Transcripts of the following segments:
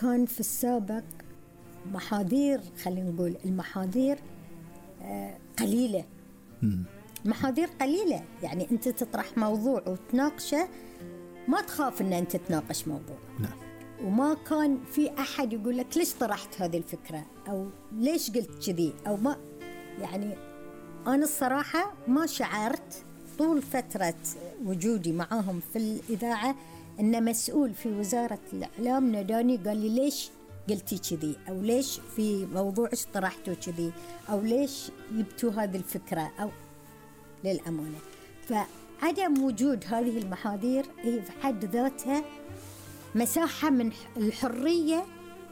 كان في السابق محاذير، خلينا نقول المحاذير قليلة. محاذير قليلة، يعني أنت تطرح موضوع وتناقشه ما تخاف أن أنت تناقش موضوع. نعم. وما كان في أحد يقول لك ليش طرحت هذه الفكرة أو ليش قلت كذي أو ما. يعني أنا الصراحة ما شعرت طول فترة وجودي معاهم في الإذاعة أن مسؤول في وزارة الإعلام ناداني قال لي ليش قلتي كذي أو ليش في موضوع طرحتوا كذي أو ليش جبتوا هذه الفكرة أو للأمانة. فعدم وجود هذه المحاذير هي في حد ذاتها مساحة من الحرية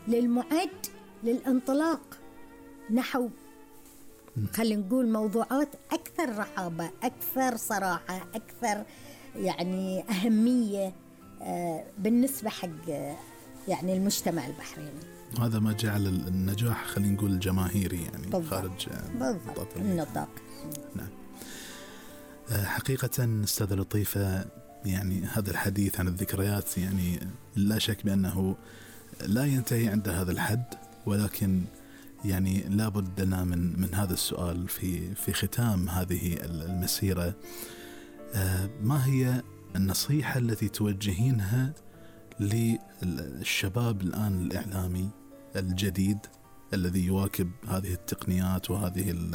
للمعد للانطلاق نحو خلينا نقول موضوعات أكثر رحابة، أكثر صراحة، أكثر يعني أهمية بالنسبة حق يعني المجتمع البحريني. هذا ما جعل النجاح خلينا نقول الجماهيري يعني بالضبط. خارج النطاق. نعم. حقيقة أستاذة لطيفة، يعني هذا الحديث عن الذكريات يعني لا شك بأنه لا ينتهي عند هذا الحد، ولكن يعني لا بد لنا من هذا السؤال في ختام هذه المسيرة. ما هي النصيحة التي توجهينها للشباب الآن الإعلامي الجديد الذي يواكب هذه التقنيات وهذه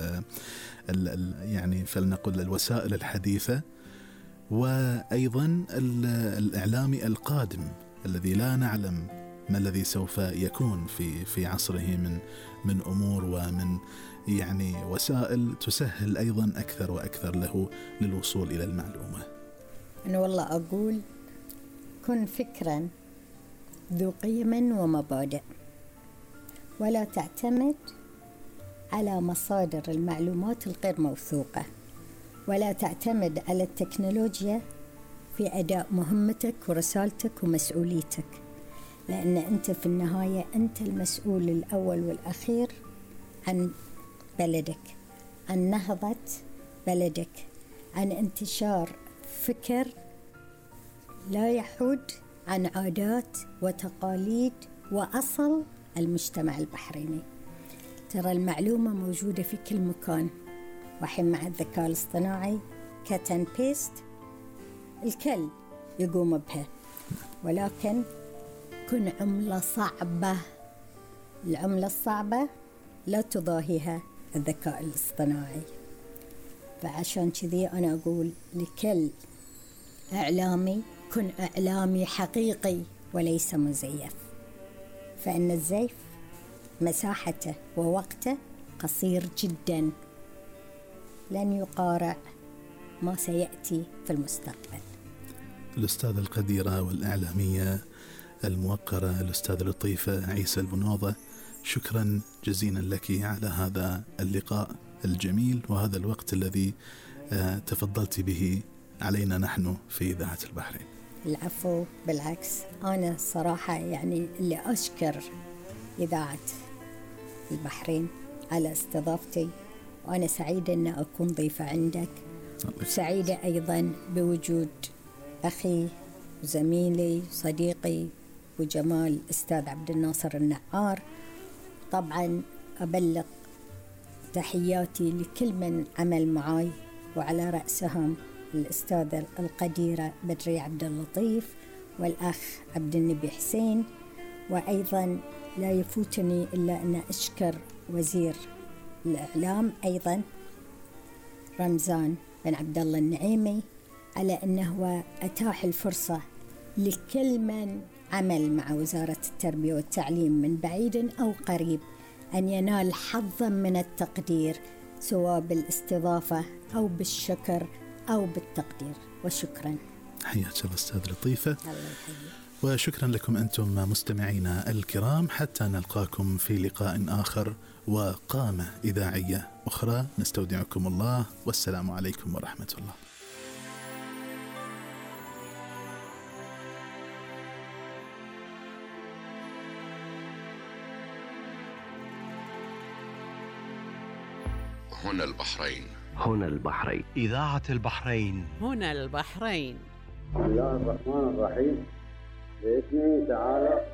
يعني فلنقل الوسائل الحديثة، وأيضا الإعلامي القادم الذي لا نعلم ما الذي سوف يكون في عصره من أمور ومن يعني وسائل تسهل أيضا أكثر وأكثر له للوصول إلى المعلومة؟ أنا والله أقول كن فكرا ذو قيم ومبادئ، ولا تعتمد على مصادر المعلومات الغير موثوقة، ولا تعتمد على التكنولوجيا في أداء مهمتك ورسالتك ومسؤوليتك، لأن أنت في النهاية أنت المسؤول الأول والأخير عن بلدك، عن نهضة بلدك، عن انتشار فكر لا يحد عن عادات وتقاليد وأصل المجتمع البحريني. ترى المعلومة موجودة في كل مكان، وحين مع الذكاء الاصطناعي كات اند بيست الكل يقوم بها، ولكن كن عملة صعبة. العملة الصعبة لا تضاهيها الذكاء الاصطناعي. فعشان كذي أنا أقول لكل إعلامي كن إعلامي حقيقي وليس مزيف، فإن الزيف مساحته ووقته قصير جدا، لن يقارع ما سيأتي في المستقبل. الأستاذة القديرة والإعلامية الموقرة الأستاذة لطيفة عيسى البنوضة، شكرا جزيلا لك على هذا اللقاء الجميل وهذا الوقت الذي تفضلت به علينا نحن في إذاعة البحرين. العفو، بالعكس أنا صراحة يعني اللي أشكر إذاعة البحرين على استضافتي، وأنا سعيدة أن أكون ضيفة عندك، وسعيدة أيضا بوجود أخي وزميلي صديقي وجمال أستاذ عبد الناصر النعار. طبعا أبلغ تحياتي لكل من عمل معي، وعلى رأسهم الأستاذة القديرة بدري عبد اللطيف والأخ عبد النبي حسين. وأيضا لا يفوتني إلا أن أشكر وزير الإعلام أيضا رمزان بن عبد الله النعيمي على أنه أتاح الفرصة لكل من عمل مع وزارة التربية والتعليم من بعيد أو قريب أن ينال حظا من التقدير، سواء بالاستضافة أو بالشكر أو بالتقدير. وشكرا. حياك الله أستاذ لطيفة. الله يحييك. وشكرا لكم أنتم مستمعينا الكرام، حتى نلقاكم في لقاء آخر وقامة إذاعية أخرى. نستودعكم الله، والسلام عليكم ورحمة الله. هنا البحرين. هنا البحرين. إذاعة البحرين. هنا البحرين. بسم الله الرحمن الرحيم. بإذنه تعالى